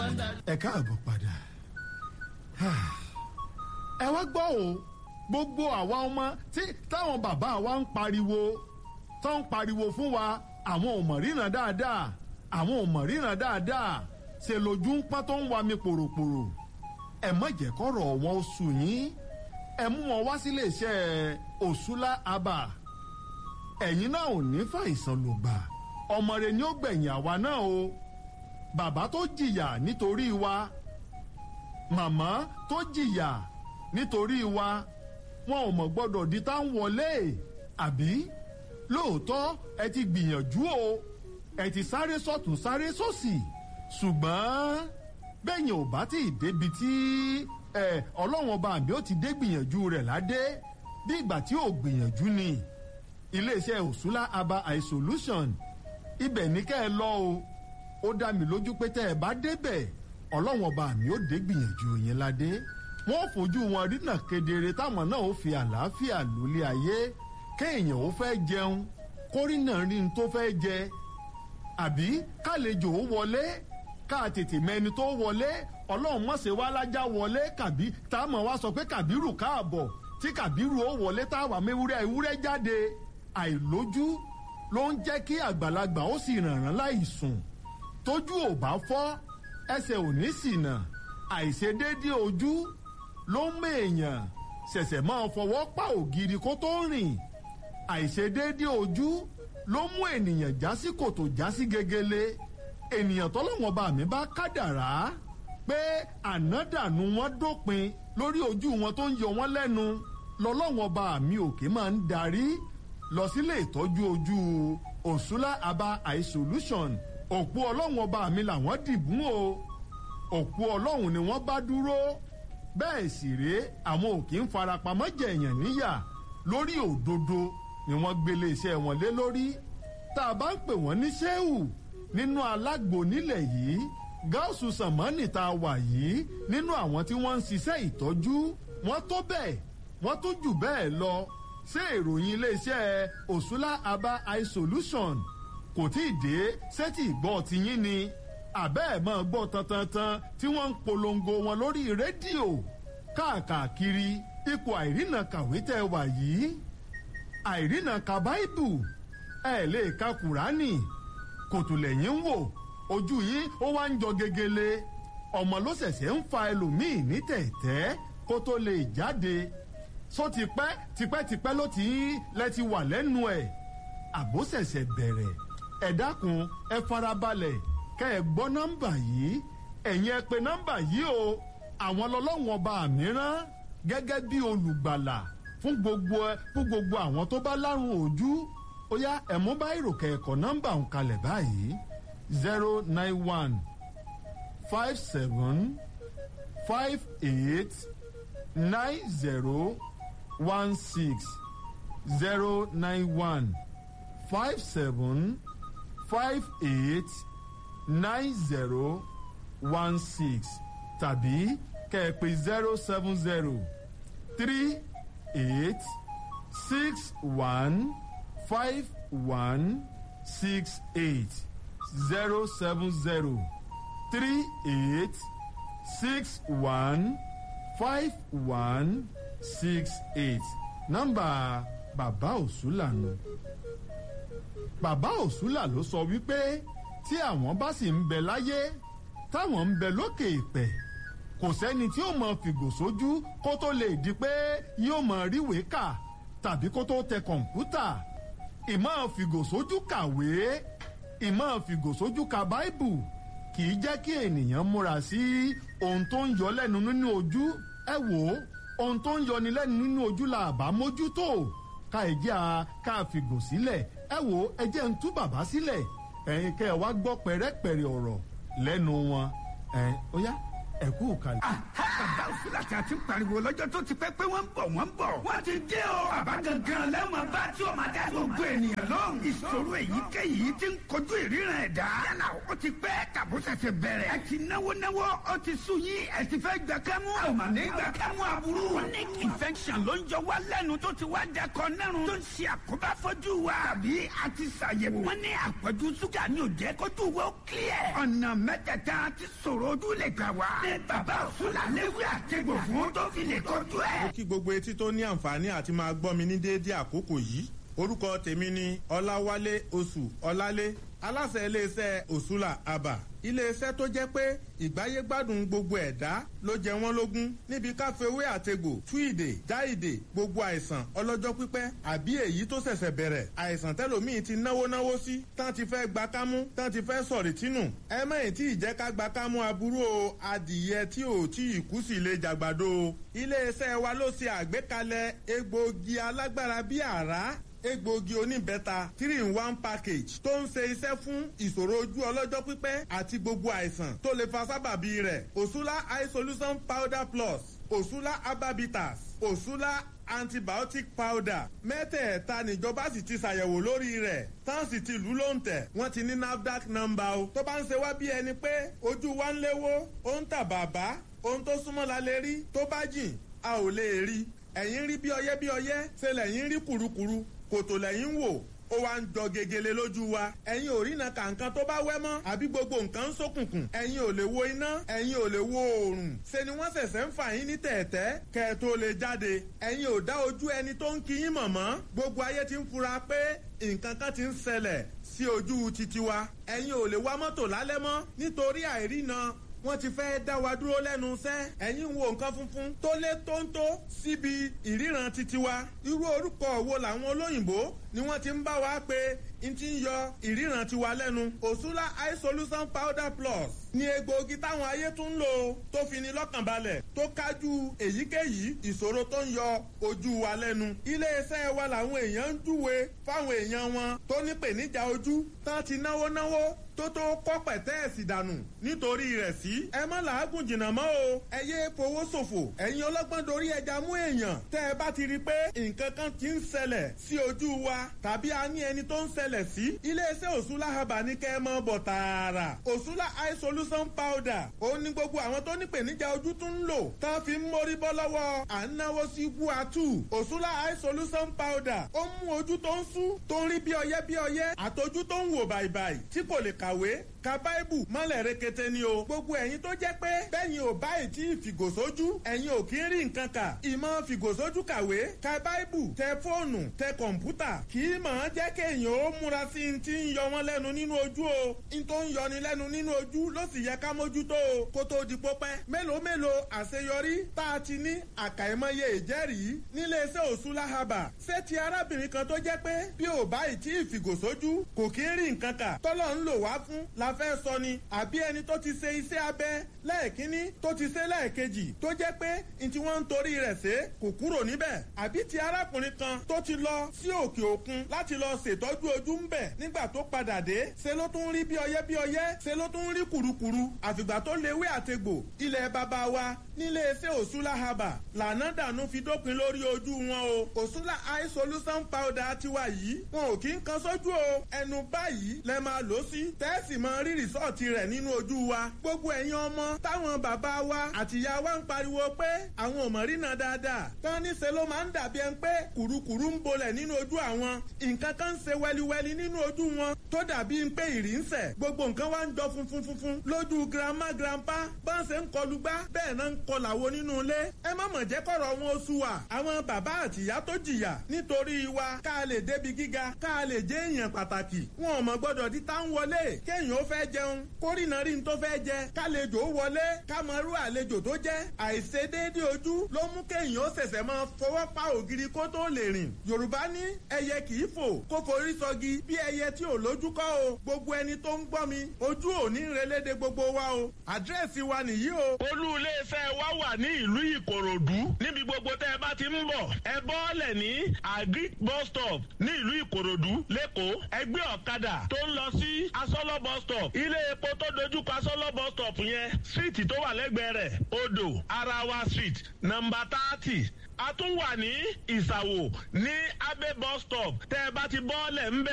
Ẹ káàbọ̀ padà. Ẹ wá gbọ́ o, gbogbo àwa ọmọ tí táwọn bàbá wa ń pariwo, tó ń pariwo fún wa, àwọn ò mọ̀ ríran dáadáa, àwọn ò mọ̀ ríran dáadáa, ṣe lójú ń pọ́n tó ń wa mi pòròpòrò. Ẹ má jẹ́ kọ́rọ̀ wọn ó sùn yín, ẹ mú wọn wá sílé iṣẹ́ Òṣùlá Abà. Ẹ̀yin náà ò ní fàìsàn lògbà, ọmọ rẹ ni ó gbẹ̀yìn àwa náà o. Bàbá tó jìyà nítorí wa, màmá tó jìyà nítorí wa, wọn ò mọ̀ gbọ́dọ̀ di tá ń wọlé àbí. Lóòótọ́ ẹ ti gbìyànjú o, ẹ ti sáré sọ́tún sáré sósì, ṣùgbọ́n bẹ́yìn ò bá tí ì débi tí ẹ ọlọ́wọ́n ọba àbí ó ti dé gbìyànjú rẹ̀ ládé, bí ìgbà tí ò gbìyànjú ni. Iléeṣẹ́ Òṣùlá Aba Eye Solution, ibẹ̀ ní kẹ́ ẹ lọ o. Ó dá mi lójú pé tẹ́ ẹ bá débẹ̀, ọlọ́wọ́n ọba àmì ó dé gbìyànjú yẹn ládé. Wọ́n fojú wọn rínà kedere, táwọn náà ó fi àlàáfíà lólé ayé. Kéèyàn ó fẹ́ jẹun, kórìnà rí n tó fẹ́ jẹ, àbí kálejò ó wọlé, ká tètè mẹni tó wọlé. Ọlọ́run mọ̀sẹ̀ wá lájà wọlé, kàbí tá a mọ̀ wá sọ pé Kàbírù káàbọ̀, tí Kàbírù ó wọlé táwa mewúrẹ́ ewúrẹ́ jáde. Àìlójú ló ń jẹ́ kí àgbàlagbà ó sì rànràn láì sùn. Tójú ò bá fọ́, ẹsẹ̀ ò ní ṣìnà. Àìṣedéédé ojú ló ń mú èèyàn ṣẹ̀ṣẹ̀ máa fọwọ́ pa ògiri kó tó rìn. Àìṣedéédé ojú ló mú ènìyàn já sí kòtò, já sí gegele. Ènìyàn tọ́lọ́wọ́n bá mi bá kádàrá pé ànádànù wọn dópin lórí ojú wọn tó ń yọ wọn lẹ́nu, lọ́lọ́wọ́n bá mi òkè máa ń darí lọ sílé ìtọ́jú ojú Òṣùlá Aba Eye Solution. Òpó ọlọ́wọ́n ọba mi làwọn dìbùn o, òpó ọlọ́run ni wọ́n bá dúró. Bẹ́ẹ̀ sì rèé, àwọn òkè ń farapamọ́ jẹ̀yàn níyà, lórí òdodo ni wọ́n gbélé iṣẹ́ wọn lé lórí. Tá a bá ń pè wọ́n ní sẹ́wù nínú alágbo nílẹ̀ yìí, gáàsù sàmánì tá a wà yìí, nínú àwọn tí wọ́n ń ṣiṣẹ́ ìtọ́jú, wọ́n tó bẹ́ẹ̀, wọ́n tó jù bẹ́ẹ̀ lọ. Ṣé ìròyìn iléeṣẹ́ Òṣùlá Aba Eye Solution kò tí ì dé sétí ìgbọ́ tiyín ni? Àbẹ́ ẹ̀ máa gbọ́ tantantan tí wọ́n ń polongo wọn lórí rédíò káàkiri. Ipò àìrìnà kàwé tẹ́ wà yìí, àìrìnà ka báìbù, ẹ̀ lè ka kùránì, kòtò lẹ́yìn ń wò, ojú yín ó wá ń jọ gegele. Ọmọ ló ṣẹ̀ṣẹ̀ ń fa ẹlòmíì ní tẹ̀tẹ́ kó tó lè jáde. Só tipẹ́ tipẹ́tipẹ́ ló ti ń lẹ ti wà lẹ́nu ẹ̀, àbó ṣẹ̀ṣẹ̀ bẹ̀rẹ̀. Ẹ dákun, ẹ farabalẹ̀ kẹ́ ẹ gbọ́ nọ́mbà yìí. Ẹ̀yin ẹ pè nọ́mbà yìí o. Àwọn lọ́lọ́wọ́n ọba mìíràn gẹ́gẹ́ bí olùgbàlà fún gbogbo ẹ, fún gbogbo àwọn tó bá lárùn ojú. Ó yá, ẹ mú bá ìròkè ẹ̀kọ́ nọ́mbà ń kalẹ̀ báyìí: 091 57 58 90 16, 091 57 58 90 16, tàbí kẹ́ ẹ pè 070 38 61 51 68, 070 38 61 51 68. Nọ́mbà bàbá Òṣùlà nù. Bàbá Òṣùlà ló sọ wípé tí àwọn bá sì ń bẹ láyé, táwọn ń bẹ lókè ìpẹ́, kò sẹ́ni tí ó mọ fìgò sójú kó tó lè di pé yóò mọ ríwèé kà tàbí kó tó tẹ kọ̀ǹpútà. Ìmọ̀ fìgò sójú kàwé, ìmọ̀ fìgò sójú ka báìbù kì í jẹ́ kí ènìyàn múra sí ohun tó ń yọ lẹ́nu nínú ojú. Ẹ wò ó, ohun tó ń yọni lẹ́nu nínú ojú la àbá mójútó, ká ẹ jẹ́ a ká fìgò sílẹ̀. Ẹ wò ó, ẹ jẹ́ ń tú bàbá sílẹ̀, ẹ̀yin kẹ́ ẹ wá gbọ́ pẹ̀rẹ́pẹ̀rẹ́ ọ̀rọ̀ lẹ́nu wọn. Ẹ̀ ó yá, ẹ kú kalẹ̀. Bàbá Òsúlà tí a ti ń pariwo lọ́jọ́ tó ti pẹ́ pé wọ́n ń bọ̀, wọ́n ń bọ̀. Wọ́n ti dé o. Bàbá gangan lẹ́wọ̀n bá tí o máa dá gbogbo ènìyàn lóhùn. Ìṣòro èyíkéyìí ti ń kojú ìríran ẹ̀dá. Yálà ó ti pẹ́ tàbó ṣẹ̀ṣẹ̀ bẹ̀rẹ̀. Ẹ ti náwó náwó, ó ti sú yín, ẹ ti fẹ́ gbà kẹ́mú. A ò mà ní gbà kẹ́mú aburú. Chronic infection ló ń jọ wá lẹ́nu tó ti wá dẹkọ nẹ́run, tó ń ṣe àkóbá fojú wa. Tàbí a ti ṣàyẹ̀wò. Wọ́n ní àpọ̀jù ṣúgà ní ò jẹ́ kójú wo clear. Ọ̀nà mẹ́tẹ̀ẹ̀ta ti sọ̀rọ̀ ojú lè gbà wá. Ní bàbá Òsúlà léwé àtẹ̀gbò fún tó fi lè kojú ẹ̀. Mo kí gbogbo etí tó ní àǹfààní àti máa gbọ́ mi ní déédéé àkókò yìí. Orúkọ tèmi ni Ọláwálé Oṣù Ọlálé, aláṣẹ iléeṣẹ́ Òṣùlà Àbà, iléeṣẹ́ tó jẹ́ pé ìgbáyégbádùn gbogbo ẹ̀dá ló jẹ wọ́n lógún níbi káfíwé àtegbò tú ìdè já ìdè gbogbo àìsàn ọlọ́jọ́ pípẹ́ àbí èyí tó ṣẹ̀ṣẹ̀ bẹ̀rẹ̀, àìsàn tẹ́lòmíì ti náwó náwó sí, tán ti fẹ́ gba kámú, tán ti fẹ́ sọ̀rì tínú. Ẹ mẹ́yìn tí ìjẹ́ ká gba kámú aburú o. Adìyẹ tí ò tí ì kú sí lè jàgbàdo o. Iléeṣẹ́ wa ló ṣe àgbékalẹ̀ egbòogi alágbára bíi àrá, egbòogi oníbẹ́ta 3 in 1 package tó ń ṣe iṣẹ́ fún ìṣòro ojú ọlọ́jọ́ pípẹ́ àti gbogbo àìsàn tó lè fa sábàbí rẹ̀. Òṣùlá Eye Solution Powder Plus, Òṣùlá Ababitas, Òṣùlá Antibiotic Powder, mẹ́tẹ̀ẹ̀ta níjọba sì ti ṣàyẹ̀wò lórí rẹ̀, tán sì ti lù ló ń tẹ̀. Wọ́n ti ní NAFDAC number o. Tó bá ń ṣe wá bí ẹni pé ojú wa ń léwó, ó ń tà bàbá, ohun tó súnmọ́ la lè rí, tó bá jìn a ò lè rí. Ẹ̀yin rí bí ọyẹ́ bí ọyẹ́, ṣe lẹ̀yin rí kùrukùru, kòtò lẹ́yìn wò, ó wá ń jọ gegele lójú wa. Ẹ̀yin ò rína kàǹkan tó bá wẹ́ mọ́, àbí gbogbo nǹkan ń ṣókùnkùn. Ẹ̀yin ò lè wo iná, ẹ̀yin ò lè wo oòrùn. Ṣe ni wọ́n ṣẹ̀ṣẹ̀ ń fà yín ní tẹ̀ẹ̀tẹ́ kẹ́ ẹ tó lè jáde. Ẹ̀yin ò dá ojú ẹni tó ń kí yín mọ̀ mọ́. Gbogbo ayé ti ń fura pé nǹkan kan ti ń ṣẹlẹ̀ sí ojú titi wa. Ẹ̀yin ò lè wa mọ́tò lálẹ́ mọ́ nítorí àìrína, wọ́n ti fẹ́ dá wa dúró lẹ́nu iṣẹ́. Ẹ̀yin wo nǹkan funfun tó lé tóńtó síbi ìríran titi wa. Irú orúkọ wo làwọn olóyìnbó ni wọ́n ti ń bá wa pé n ti ń yọ ìríran tiwa lẹ́nu? Òṣùlá Eye Solution Powder Plus ní egbòogi táwọn ayé tún ń lò tó fi ni lọ́kàn balẹ̀, tó kájú èyíkéyìí ìṣòro tó ń yọ ojú wa lẹ́nu. Iléeṣẹ́ wa làwọn èèyàn ń júwe fáwọn èèyàn wọn tó ní pèníjà ojú, tán ti náwó náwó tó tó kọ́ pẹ̀tẹ́ẹ̀sì dànù nítorí rẹ̀ sí. Ẹ má làágùn jìnnà mọ́ o. Ẹ yé fowó ṣòfò. Ẹ̀yin ọlọ́gbọ́n dorí ẹja mú èèyàn. Tẹ́ ẹ bá ti rí i pé nǹkan kan ti ń ṣẹlẹ̀ sí ojú wa tàbí a ní ẹni tó ń ṣẹlẹ̀ sí, iléeṣẹ́ Òṣùlá Haba ní kẹ́ ẹ mọ́ bọ̀ tààrà. Òṣùlá Eye Solution Powder, òun ni gbogbo àwọn tó ní pèníjà ojú tún ń lò tán fi ń mórí bọ́ lọ́wọ́ à ń náwó sí guatu. Òṣùlá Eye Solution Powder, ó mú ojú tó ń sú, tó ń rí bí ọyẹ́ bí ọyẹ́, àtọjú tó ń wò bàìbàì, tí kò lè kàwé, ka báìbù mọ́lẹ̀ rekete ni o. Gbogbo ẹ̀yin tó jẹ́ pé bẹ́yìn ò báyìí tí ìfìgòsójú, ẹ̀yin ò kí ń rí nǹkan kà. Ìmọ̀ fìgòsójú kàwé, ka báìbù, tẹ fóònù, tẹ kọ̀ǹpútà, kì í mọ̀ ọ́n jẹ́ kéèyàn ó múra sí i ti ń yọ wọ́n lẹ́nu nínú ojú o. N tó ń yọni lẹ́nu nínú ojú ló sì yẹ ká mójútó o kó tó di pópẹ́. Mélòó mélòó àṣeyọrí tá a ti ní, àkàìmọye ìjẹ́rìí níléeṣẹ́ Òṣùlá Haba. Ṣé ti arábìnrin kan tó jẹ́ pé bí ò báyìí tí ìfìgòsójú kò kí ń rí nǹkan kà, tọ́lọ́ ń lò wá fún la fẹ́ sọ ni, àbí ẹni tó ti ṣe iṣẹ́ abẹ lẹ́ẹ̀kínní, tó ti ṣe lẹ́ẹ̀kejì, tó jẹ́ pé n tí wọ́n ń torí rẹ̀ ṣe kò kúrò níbẹ̀, àbí ti arákùnrin kan tó ti lọ sí òkè òkun láti lọ ṣètọ́jú ojú ń bẹ̀, nígbà tó padà dé ṣe ló tún rí bí ọyẹ́ bí ọyẹ́, ṣe ló tún rí kùrukùru, àfìgbà tó lewé àtegbò ilẹ̀ bàbá wa nílé iṣẹ́ Òṣùlá Haba lànà dànù fi dópin lórí ojú wọn o. Òṣùlá Eye Solution Powder tiwa yìí, wọn ò kí ń kan sójú o. Ẹnu báyìí lẹ máa lò sí, tẹ́ẹ̀sì mọ rí rìsọ́ọ̀tì rẹ̀ nínú ojú wa. Gbogbo ẹ̀yin ọmọ táwọn bàbá wa àtìyá wa ń pariwo pé àwọn ò mọ̀ rínà dáadáa, tán níṣe ló máa ń dàbí ẹni pé kùrukùru ń bolẹ̀ nínú ojú àwọn, nǹkan kan ń ṣe wẹliwẹli nínú ojú wọn tó dàbí ń pé ìrì ń sẹ̀, gbogbo nǹkan wá ń jọ funfun funfun lójú grandma grandpa, bọ́n ṣe ń kọlu gbá bẹ́ẹ̀ náà ń kọlàwo nínú ilé. Ẹ má mọ̀ jẹ́ kọ̀rọ̀ wọn oṣù wa. Àwọn bàbá àtìyá tó jìyà nítorí wa ká lè débi gíga, ká lè jẹ́ èèyàn pàtàkì, wọn ò mọ̀ gbọ́dọ̀ di tá ń wọlé. Kéèyàn ó fẹ́ jẹun kórìnà rí n tó fẹ́ jẹ, kálejò ó wọlé kámọ́rú àlejò tó jẹ́. Àìṣedéédé ojú ló mú kéèyàn ó ṣẹ̀ṣẹ̀ máa fọwọ́ pa ògiri kó tó lè rìn. Yorùbá ní ẹyẹ kì í fò kó forí sọgi, bí ẹyẹ tí ò lójú kọ́ o. Gbogbo ẹni tó ń gbọ́ mi, ojú ò ní relédè gbogbo wa o. Àdírẹ́sì wa nìyí o. Olú iléeṣẹ́ wa wà ní ìlú Ìkòròdú níbi gbogbo. gbogbo tẹ́ ẹ bá ti ń bọ̀, ẹ bọ́ọ̀lẹ̀ ní Agric bus stop ní ìlú Ìkòròdú lẹ́kọ̀ọ́. Ẹgbẹ́ ọ̀kadà tó ń lọ sí Asọ́lọ́ bus stop, ilé epo tó dojúkọ Asọ́lọ́ bus stop yẹn, street tó wà lẹ́gbẹ̀ẹ́ rẹ̀, Odò Arawa Street, nọ́mbà 30. A tún wà ní Ìsàwò ní Abe bus stop. Tẹ́ ẹ bá ti bọ́ọ̀lẹ̀ ńbẹ̀.